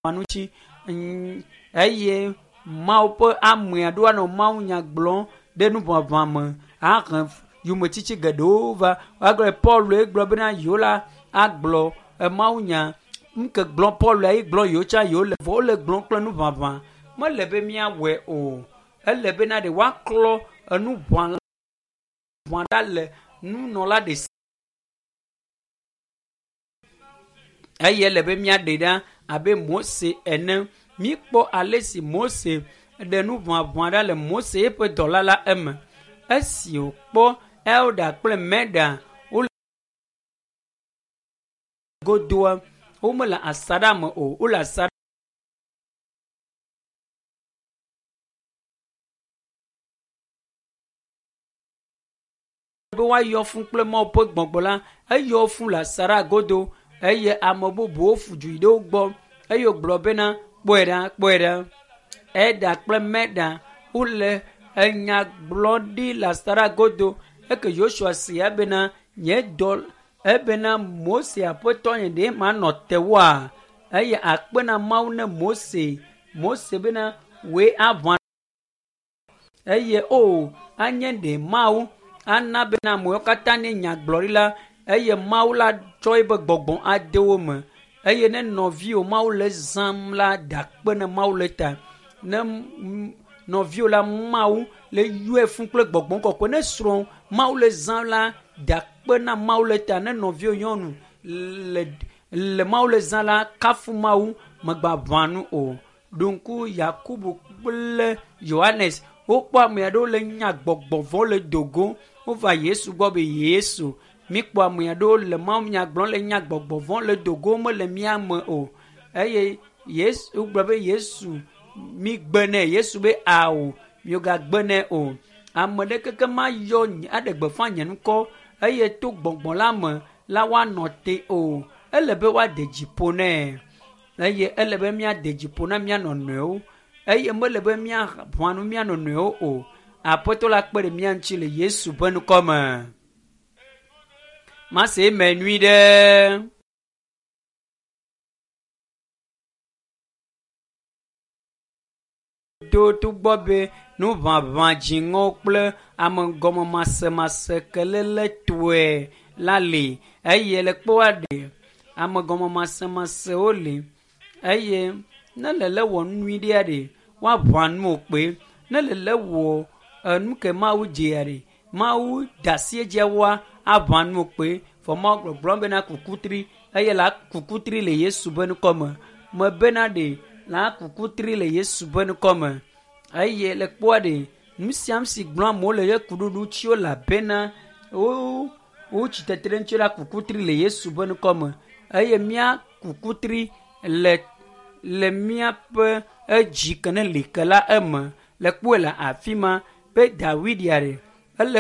Ŋuti eye Mawu ƒe amea ɖo anɔ mawunya gblɔm ɖe nuʋaʋã me ahe yometsitsi geɖewo va. Woagblɔ Paul gblɔ bena yewo la agblɔ mawunya. Nu ke gblɔm Paul ye gblɔ yewo tsã yewo le vɔ wole gblɔm kple nuʋaʋã. Mele be míawɔe o. Ele bena ɖe woaklɔ enuʋã ɖa le nunɔla ɖe si. Eye ele be míaɖe ɖa abe Mose ene. Míkpɔ ale si Mose ɖe nuʋaʋã ɖa le Mose eƒe dɔla la eme. Esi wòkpɔ Elda kple Meda wole godoa, womele asaɖa me o. Wole asaɖa be woayɔ fũ kple Mawu ƒe gbɔgbɔ la, eyɔ fũ le asaɖa godo eye ame bubuwo fu du yi ɖe wo gbɔ eye wògblɔ bena kpɔe ɖa, kpɔe ɖa. Eda kple Meda wole enya gblɔ ɖi le asaɖa godo. Eke Yosua se ebena nye dɔ ebena Mose aƒetɔ nye ɖe manɔ te woa? Eye akpe na Mawu ne Mose. Mose bena wòe aʋã eye o anye ɖe Mawu ana bena amewo katã ne nyagblɔɖi la eye Mawu la tsɔ eƒe gbɔgbɔ ade wo me eye ne nɔviwò Mawu le zãm la da akpe ne Mawu le ta ne nɔviwò la Mawu le yɔe fũ kple gbɔgbɔ kɔkɔe ne srɔ̃ Mawu le zãm la da akpe na Mawu le ta ne nɔviwò nyɔnu le le Mawu le zã la kafu Mawu megbaʋã nu o. Ɖo ŋku Yakubu kple Yohanes wokpɔ ame aɖewo le nya gbɔgbɔ vɔ̃ le dogo wova Yesu gbɔ be Yesu míkpɔ ame aɖewo le mawunya gblɔm le nya gbɔgbɔ vɔ̃ le dogo mele mía me o eye Yesu gblɔ be Yesu migbe nɛ Yesu be ao miogagbe nɛ o ame ɖeke ke mayɔ aɖe gbeƒã nye ŋkɔ eye to gbɔgbɔ la me la woanɔ te o ele be woade dzi ƒo nɛ eye ele be míade dzi ƒo na mía nɔnɔewo eye mele be míaʋã nu mía nɔnɔewo o. Aƒetɔ la kpe ɖe mía ŋuti le Yesu ƒe ŋkɔ me. Mase eme nyui ɖe. To togbɔ be nuʋaʋã dziŋɔ kple amegɔmemasemase kelele tɔe la li eye le kpɔa ɖe amegɔmemasemasewo li eye ne lele wɔ nu nyui ɖea ɖe woaʋã nu wò kpe ne lele wɔ enu ke Mawu dzea ɖe Mawu da asi edzia woa aʋã nu wò kpe vɔ Mawu gbɔgblɔm bena kukutri eye la kukutri le Yesu ƒe ŋkɔ me mebena ɖe la kukutri le Yesu ƒe ŋkɔ me eye le kpɔa ɖe nu sia nu si gblɔm amewo le ye kuɖuɖu ŋuti elabena wo wotsi tetre ŋuti la kukutri le Yesu ƒe ŋkɔ me eye mía kukutri le le míaƒe edzi ke ne li ke la eme le kpɔe le afi ma be Dawid ya ɖe.